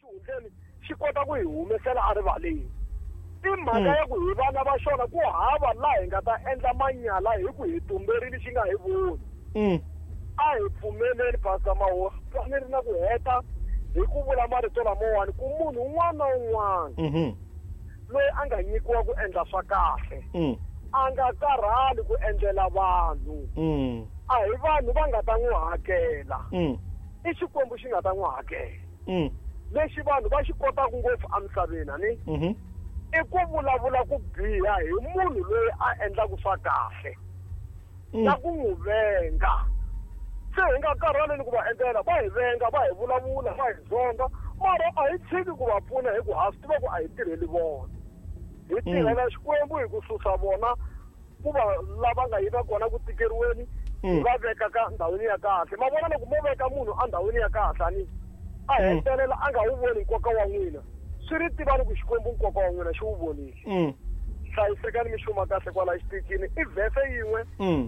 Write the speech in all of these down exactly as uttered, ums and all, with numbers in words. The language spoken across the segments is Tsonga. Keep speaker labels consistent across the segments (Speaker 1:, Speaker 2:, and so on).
Speaker 1: Xihundleni xi kota ku hi humesela erivaleni. I mhaka ya ku hi vana va xona ku hava laha hi nga ta endla manyala hi ku hi tumberile xi nga hi voni. A hi pfumeleli Pastor Mahosi, ni ri na ku heta hi ku vula marito lamawani ku munhu un'wana na un'wana loyi a nga nyikiwa ku endla swa kahle a nga karhali ku endlela vanhu. A hi vanhu va nga ta n'wi hakela, i Xikwembu xi nga ta n'wi hakela. Lexi vanhu va xi kotaka ngopfu emisaveni ani i ku vulavula ku biha hi munhu loyi a endlaka swa kahle na ku n'wi venga. Se hi nga karhaleni ku va endlela, va hi venga, va hi vulavula, va hi zonda, mara a hi tshiki ku va pfuna hi ku ha swi tiva ku a hi tirheli vona. Hi tirhela Xikwembu hi ku susa vona ku va lava nga yiva kona ku tikeriweni, hi va veka ka ndhawini ya kahle. Ma vona loko mo veka munhu endhawini ya kahle ani a hetelela a nga wu voni nkoka wa n'wina, swi ri tivani ku Xikwembu nkoka wa n'wina xi wu vonile. Hlayisekani mi xuma kahle kwala xitichini. I vhese yin'we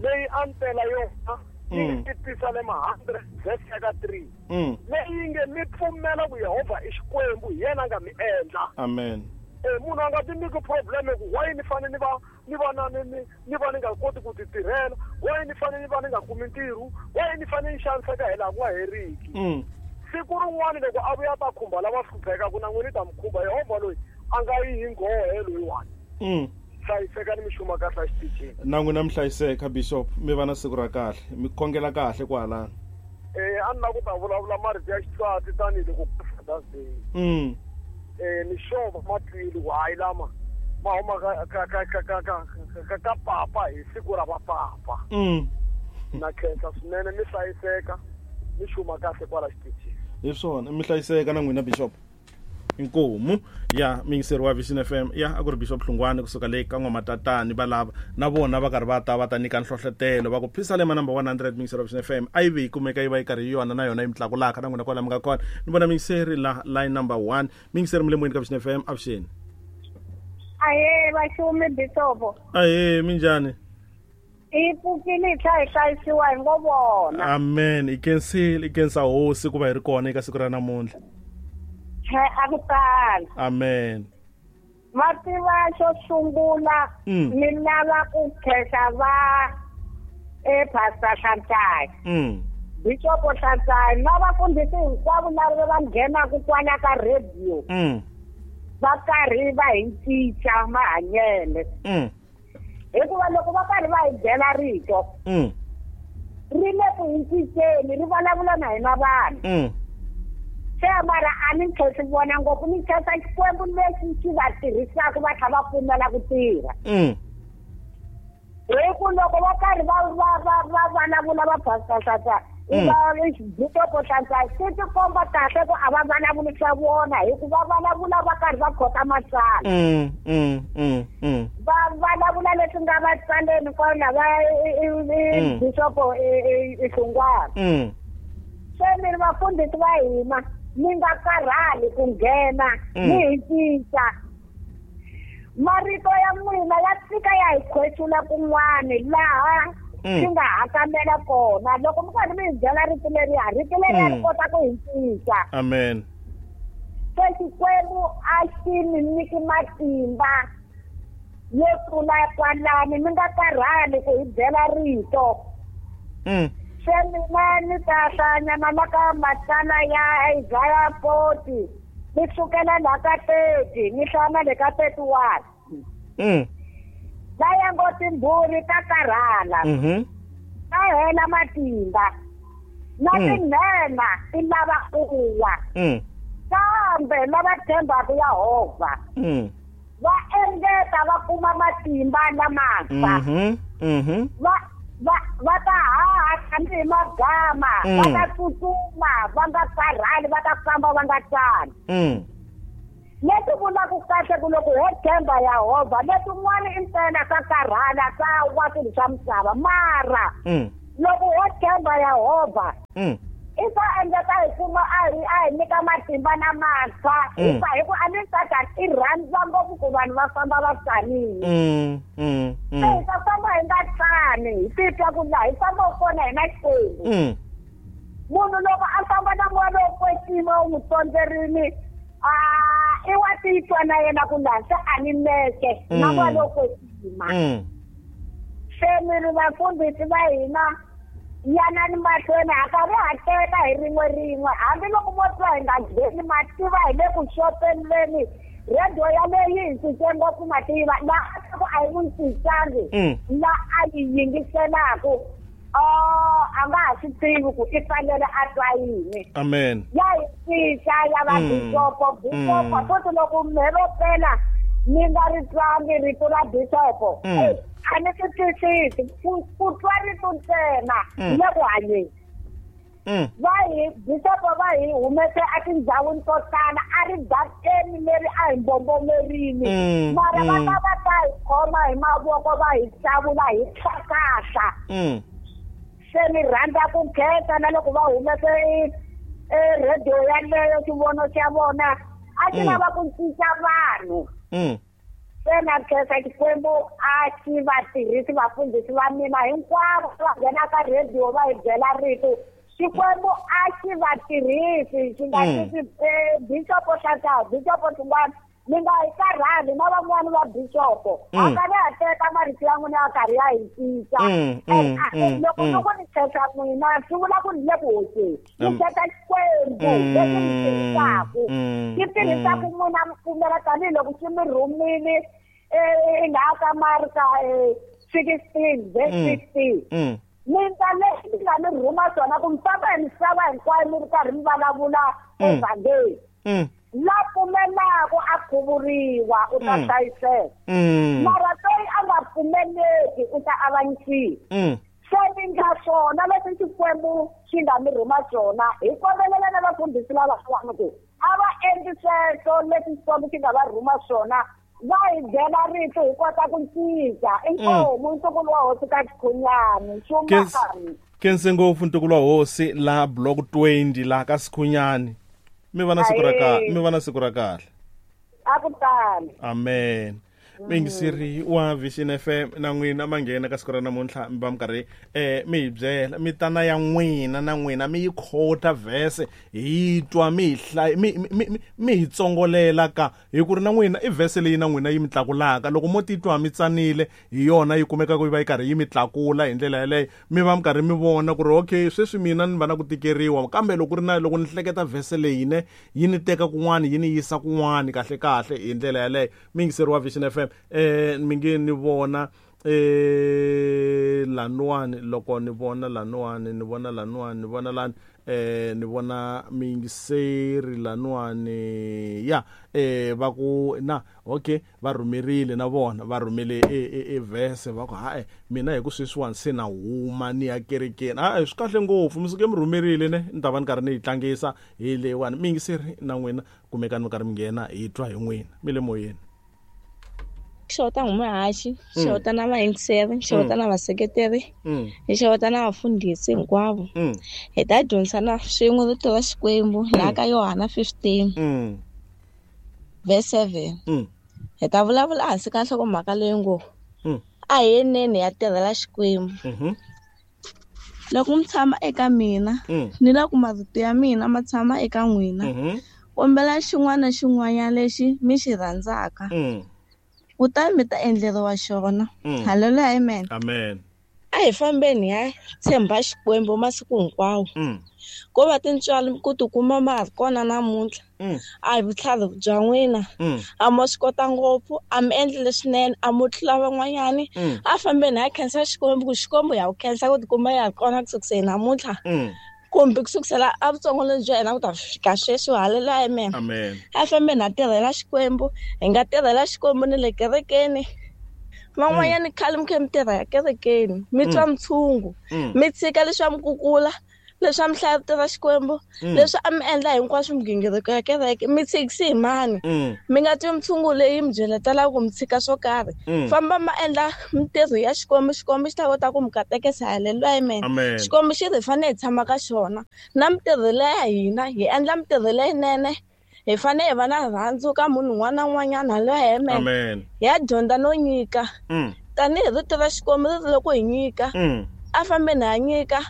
Speaker 1: leyi a ntela yona yi Pisalema hundred verse ya ka three leyi nge mi pfumela ku Yehovha i Xikwembu, hi yena a nga mi endla.
Speaker 2: Amen.
Speaker 1: Eh munhu a nga ti nyiki problem ku why ni fanele ni va ni va na ni ni va ni nga koti ku ti tirhela, why ni fanele ni va ni nga kumi ntirho, why ni fanele ni xaniseka hi laha ku nga heriki. Siku rin'wana loko a vuya ta khumba lava hluphekaka na n'wina ta mi khumba. Yehovha loyi a nga yi hi nghohe loyiwani. Hlayisekani mi xuma kahle xitichini.
Speaker 2: Na n'wina mi hlayiseka Bishop, mi va na siku ra kahle, mi khongela kahle kwalano.
Speaker 1: Eh a ni lava ku ta vulavula marito ya xitswatsi tanihiloko ku Father's Day.
Speaker 2: Mm.
Speaker 1: Eh ni xova matwile ku hayi lama ma huma ka ka ka ka ka ka ka papa hi siku ra vapapa.
Speaker 2: Mm.
Speaker 1: Na khensa swinene, mi hlayiseka, mi xuma kahle kwala xitichini.
Speaker 2: Hi swona, mi hlayiseka na n'wina Bishop. Inkomu ya mingiseri wa Vision F M ya a ku ri Bishop Hlungwani kusuka le ka N'wamatatani. Va lava na vona va karhi va ta va ta nyika nhlohletelo va ku Pisalema number one hundred mingiseri wa Vision F M a yi vi yi kumeka yi va yi karhi yi yona na yona yi mi tlakulaka na n'wina kwala mi nga kona. Ni vona mingiseri la line number one. Mingiseri mi le moyeni ka Vision F M, avuxeni.
Speaker 3: Ahe vaxumi Bishop.
Speaker 2: Ahe minjhani?
Speaker 3: I pfukile hi tlhela hi hlayisiwa hi ngo vona.
Speaker 2: Amen. I khensile, i khensa hosi ku va hi ri kona eka siku ra namuntlha.
Speaker 3: A ku tala.
Speaker 2: Amen.
Speaker 3: Va tiva xo sungula ni lava ku khensa va e Pastor Hlantsai.
Speaker 2: Mm.
Speaker 3: Bishop Hlantsai na vafundhisi hinkwavo lava va nghenaka kwala ka radio.
Speaker 2: Mm.
Speaker 3: Va karhi va hi cinca mahanyelo.
Speaker 2: Mm.
Speaker 3: Hikuva loko va karhi va hi byela rito.
Speaker 2: Mm.
Speaker 3: Ri le ku hi cinceni, ri vulavula na hina vanhu.
Speaker 2: Mm.
Speaker 3: Se mara a ni khensi vona ngopfu, ni khensa Xikwembu lexi xi va tirhisaka va tlhela va pfumela ku tirha.
Speaker 2: Mm.
Speaker 3: Hi ku loko va karhi va va va va vulavula va Pastor Hlantsai, va Bishop Hlantsai, swi ti komba kahle ku a va vulavuli swa vona, hikuva va vulavula va karhi va khota matsalwa.
Speaker 2: Mm, mm, mm, mm.
Speaker 3: Va vulavula leswi nga va tsaleni kwala va Bishop Hlungwani.
Speaker 2: Mm.
Speaker 3: Se mi ri vafundhisi va hina, mi nga karhali ku nghena mi hi cinca. Marito ya n'wina ya fika ya hi khwesula kun'wani laha swi nga hakamela kona. Loko mi karhi mi hi byela rito leriya, rito leriya ri kota ku hi cinca.
Speaker 2: Amen.
Speaker 3: Se Xikwembu a xi mi nyiki matimba yo tlula kwalani, mi nga karhali ku hi byela rito.
Speaker 2: Mm.
Speaker 3: Se mina ni ta hlanyana la ka matsalwa ya Isaiah forty, ni sukela la ka thirty, ni hlaya le ka thirty-one.
Speaker 2: Mm.
Speaker 3: Laya ngo timbhuri ta karhala.
Speaker 2: Mhm.
Speaker 3: Ta hela matimba. Na tinhenha ti lava ku wa.
Speaker 2: Mm.
Speaker 3: Kambe lava tshembaka Yehovha.
Speaker 2: Mm.
Speaker 3: Va engeta va kuma matimba lamantshwa.
Speaker 2: Mhm. Mhm.
Speaker 3: Va va va ta haha tanihi magama, va ta tsutsuma va nga karhali, va ta famba va nga tsani.
Speaker 2: Mm.
Speaker 3: Leswi vulaka kahle ku loko ho tshemba Yehovha, leswin'wana i ntsena swa karhala swa wa swilo swa misava, mara loko ho tshemba Yehovha i ta endleka hi kuma a hi a hi nyika matimba lamantshwa. Hikuva hi ku a ni Satani i rhandza ngopfu ku vanhu va famba va tsanile. Se hi ta famba hi nga tsani, hi titwa ku laha hi fambaka kona hi na Xikwembu. Munhu loko a famba na moya lowo kwetsima wu n'wi tsondzerile Ah i wa titwa na yena ku lansa a ni meke na va loko kwetsima. Se mi ri vafundhisi va hina yanani mahlweni ha karhi ha teka hi rin'we rin'we hambiloko mo twa hi nga ngheni mativa hi le ku xopeneni radio yaleyo yi hi cince ngopfu mativa laha a ku a yi n'wi cincangi la a yi yingiselaku oh a nga ha swi tivi ku i fanele a twa yini.
Speaker 2: Amen.
Speaker 3: Ya hi cinca ya va bishopo bishopo futhi loko mhero pela mi nga ri twangi rito ra bishopo a ni swi twisisi ku twa rito ntsena le ku hanyeni. Va hi bishopo va hi humese etindhawini to tala a ri dakeni leri a hi mbombomerini mara va ta va ta hi khoma hi mavoko va hi hlawula hi tlhakahla. Se ni rhandza ku khensa na loko va humese e radio yaleyo xivono xa vona a xi lava ku cinca vanhu. Se na khensa Xikwembu a xi va tirhisi vafundhisi va mina hinkwavo va nghena ka radio va hi byela rito. Xikwembu a xi va tirhisi xi nga tisi bishopo Hlantshwa bishopo Hlungwane mi nga hi karhali na van'wani va bishopo a karhi ha teka marito ya n'wina ya karhi ya hi cinca. Loko loko ni khensa n'wina swi vula ku ni le ku hoxeni ni khensa Xikwembu lexi mi tirhisaku xi tirhisaku n'wina mi pfumela tanihiloko xi mi rhumile laha ka Marka sixteen verse sixteen. Minta lexi mi nga mi rhuma swona ku mi famba hi misava hinkwayo mi ri karhi mi vulavula evhangeli. La pfumelaku a khuvuriwa u ta hlayiseka mara loyi a nga pfumeleki u ta avanyisiwa. Se mi nga swona leswi Xikwembu xi nga mi rhuma swona hi kombelela na vafundhisi lavan'wana ku a va endli sweswo leswi Xikwembu xi nga va rhuma swona va hi byela rito hi kota ku cinca. Inkomu ntukulu wa hosi ka Sikhunyani xumani.
Speaker 2: Khense ngopfu ntukulu wa hosi la block twenty la ka Sikhunyani. Mi va na siku ra kahle, mi va na siku ra kahle.
Speaker 3: A ku tani.
Speaker 2: Amen. Mingisiri wa Vision F M na n'wina ma nghena ka siku ra namuntlha mi va mi karhi eh mi hi byela mi tana ya n'wina na n'wina mi yi khota verse hi twa mi hi hlaya mi mi mi hi tsongolela ka hi ku ri na n'wina i verse leyi na n'wina yi mi tlakulaka loko mo titwa mi tsanile hi yona yi kumeka ku yi va yi karhi yi mi tlakula hi ndlela yaleyo mi va mi karhi mi vona ku ri okay sweswi mina ni va na ku tikeriwa kambe loko ri na loko ni hleketa verse leyi ne yi ni teka kun'wana yi ni yisa kun'wana kahle kahle hi ndlela yaleyo. Mingiseri wa Vision F M eh mi nge ni vona eh lanuwani loko ni vona lanuwani ni vona lanuwani ni vona lani eh ni vona mingiseri lanuwani ya eh va ku na okay va rhumerile na vona va rhumele e e verse va ku hayi mina hi ku sweswiwani se na huma ni ya kerekeni a swi kahle ngopfu mi suke mi rhumerile ne ni ta va ni karhi ni yi tlangisa hi leyiwani. Mingiseri na n'wina kumekani mi karhi mi nghena hi twa hi n'wina mi le moyeni.
Speaker 4: Xota ngumuhaxi xota na vayingiseri xota na vaseketeri hi xota na vafundhisi hinkwavo hi ta dyondzisana swin'we rito ra Xikwembu laha ka Yohana fifteen verse seven. Hi ta vulavula hansi ka nhlokomhaka leyi ngo a hi yeneni ya tirhela Xikwembu. Loko mi tshama eka mina ni loko marito ya mina ma tshama eka n'wina kombela xin'wana na xin'wanyana lexi mi xi rhandzaka kutani mi ta endleriwa xona. Haleluya, amen.
Speaker 2: Amen.
Speaker 4: A hi fambeni hi tshemba Xikwembu masiku hinkwawo. Ko va tintswalo ku tikuma ma ha ri kona namuntlha. A hi vutlhari bya n'wina. A mo swi kota ngopfu, a mi endli leswinene, a mo tlula van'wanyani. A fambeni hi khensa Xikwembu ku Xikwembu ya ku khensa ku tikuma ya ri kona ku sukiseni namuntlha. Kumbe ku sukisela evutsongweni bya hina ku ta fika sweswi. Haleluya, amen.
Speaker 2: Amen.
Speaker 4: A fambeni ha tirhela Xikwembu, hi nga tirhela Xikwembu ni le kerekeni. Van'wanyani khale mi khe mi tirha ya kerekeni mi twa mutshungu mi tshika leswi a mi kukula leswi a mi hlaya rito ra Xikwembu leswi a mi endla hinkwaswo migingiriko ya kereke mi tshikisi hi mani mi nga twi mutshungu leyi mi byeletelaka ku mi tshika swo karhi. Famba ma endla mintirho ya Xikwembu, Xikwembu xi ta kota ku mi katekisa. Haleluya, amen. Xikwembu xi ri hi fanele hi tshama ka xona na mintirho leya hina hi endla mintirho leyinene. Hi fanele hi va na rirhandzu ka munhu un'wana na un'wanyana. Haleluya, amen. Hi ya dyondza no nyika tanihi rito ra Xikwembu ri ri loko hi nyika a fambeni ha nyika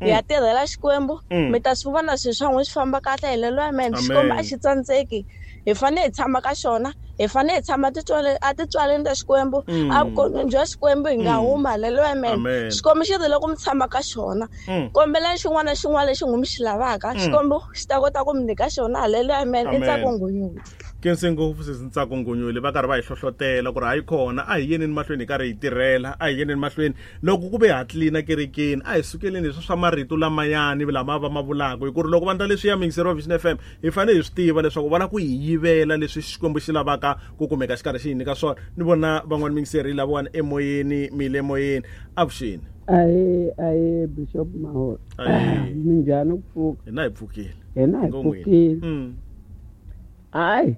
Speaker 4: Hi ya tirhela Xikwembu, mi ta swi vona swilo swa n'wina swi famba kahle. Haleluya, amen. Xikwembu a xi tsandzeki, hi fanele hi tshama ka xona, hi fanele hi tshama a titswaleni ta Xikwembu, a vukonweni bya Xikwembu hi nga huma. Haleluya, amen. Xikwembu xi ri loko mi tshama ka xona, kombelani xin'wana na xin'wana lexi n'wi mi xi lavaka, Xikwembu xi ta kota ku mi nyika xona. Haleluya, amen. I Ntsako Ngunyule.
Speaker 2: Khense ngopfu sesi Ntsako Ngunyule, va karhi va hi hlohlotela ku ri hayi kona a hi yeneni mahlweni hi karhi hi tirhela, a hi yeneni mahlweni loko ku ve ha tlilina kerekeni, a hi sukeleni leswi swa marito lamayani lama va ma vulaka, hi ku ri loko va ndla leswi ya mingiseri wa Vision F M hi fanele hi swi tiva leswaku va lava ku hi yivela leswi Xikwembu xi lavaka ku kumeka xi karhi xi hi nyika swona. Ni vona van'wani mingiseri lavawani emoyeni, mi le moyeni. Avuxeni.
Speaker 5: Ahe ahe Bishop Maholo. Minjhani ku pfuka?
Speaker 2: Hina hi pfukile.
Speaker 5: Hina hi pfukile. Hayi,